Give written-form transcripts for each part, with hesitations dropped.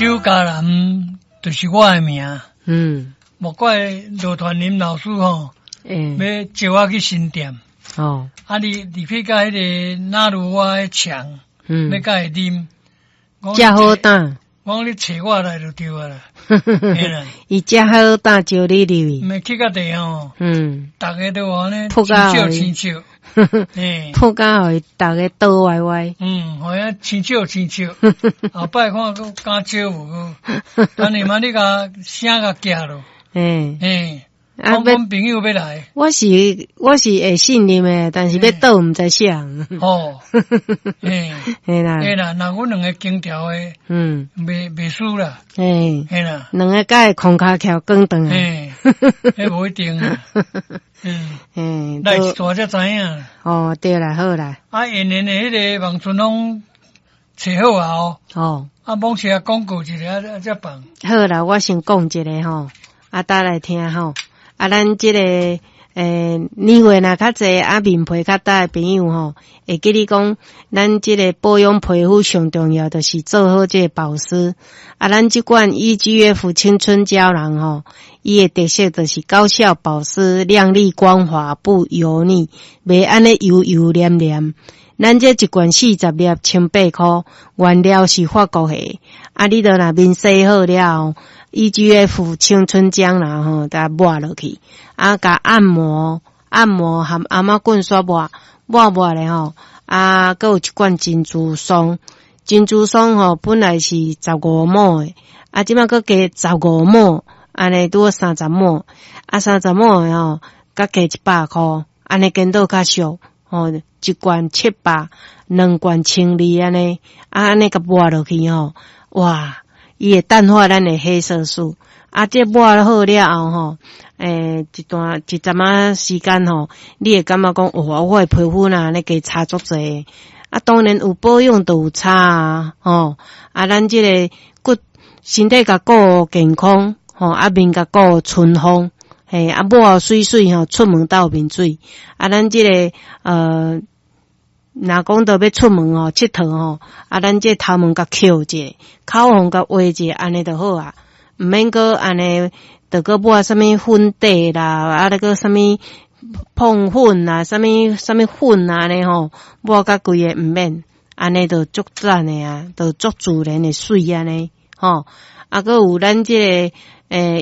周嘉南就是我的名。莫怪羅傳林老師吼，欲招我去新店。啊，你入去共彼个哪路我的牆，欲共伊啉。遮好膽。我講你揣我來就對啊啦。伊遮好膽招你入去。毋去到地吼，逐家都按呢親笑親笑，噗甲予伊逐家倒歪歪。嗯，予伊親笑親笑，後擺看閣敢招無？但是嘛，你共聲共寄落。啊，阮朋友欲來。我是會信任的，但是欲倒毋知啥。嘿啦。嘿啦，若阮兩个經條的，袂輸啦。嘿啦。兩个才會空跤橋轉轉來。嘿，彼無一定。來一逝才知影。哦，對啦，好啦。啊，因因的彼个望春風揣好啊哦。啊，罔是啊，廣告一下啊，才放。好啦，我先講一个吼，啊，大家來聽吼。啊，咱這个年歲若較濟，啊，面皮較焦的朋友吼，會記得講，咱這个保養皮膚上重要就是做好這个保濕。啊，咱這款 EGF 青春膠囊吼，伊的特色就是高效保濕、亮麗光滑、不油膩，袂按呢油油黏黏。咱這一罐40粒，1008箍，原料是法國的。啊，你著若面洗好了後，EGF 青春膠囊吼，共抹落去，啊，共按摩按摩含頷仔棍煞抹抹抹咧吼，啊，閣有一罐珍珠霜，珍珠霜吼本來是15毫的，啊，這擺閣加15毫，按呢拄好三十毫，啊，三十毫的吼，閣加100箍，按呢顛倒較俗，吼，一罐700，兩罐1200按呢，啊，按呢共抹落去吼，哇！伊會淡化咱的黑色素，啊，這抹好了後吼，一段一陣仔時間吼，你會感覺講，哇，我的皮膚若按呢加差足濟。啊，當然有保養就有差啊，吼，啊，咱這个骨身體共顧健康，吼，啊，面共顧春風，嘿，啊，抹媠媠吼，出門鬥面水，啊，咱這个若講著欲出門吼，𨑨迌吼，啊，咱這頭毛共抾者，口紅共畫者，按呢就好啊，毋免閣按呢，著閣抹啥物粉底啦，啊，那個啥物碰粉啊，啥物啥物粉啊，按呢吼，抹甲規个毋免，按呢就足讚的啊，就足自然的媠按呢，吼，啊，閣有咱這个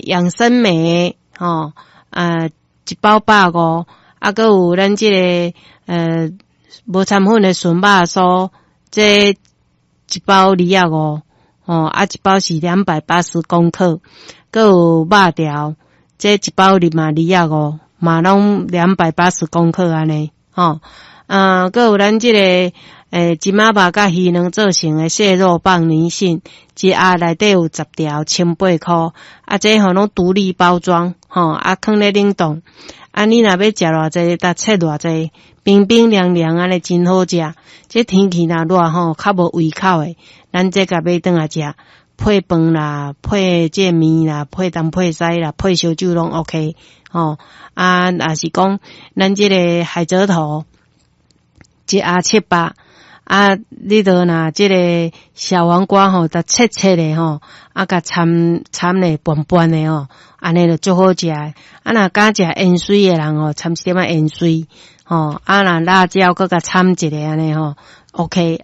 養生美吼，啊，一包150，啊，閣有咱這个無摻粉的純肉酥，這一包25，吼，啊，一包是280公克，閣有肉條，這一包爾嘛25，嘛攏280公克按呢，吼，啊，閣有咱這个金仔肉佮魚卵做成的蟹肉棒泥鰊，一盒內底有10條，1008箍，啊，這吼攏獨立包裝，吼，啊，囥咧冷凍，啊，你若欲食偌濟，就切偌濟，冰冰涼涼按呢真好食。這天氣若熱吼，較無胃口的，咱這共買轉來食，配飯啦，配這麵啦，配東配西啦，配燒酒攏 OK，吼。啊，若是講咱這个海蜇頭，一盒700，啊，你著若這个小黃瓜吼，共切切的吼，啊，共摻摻咧拌拌的吼，按呢就足好食的。啊，若敢食芫荽的人吼，摻一點仔芫荽，吼，啊，若辣椒閣共摻一下按呢吼，OK。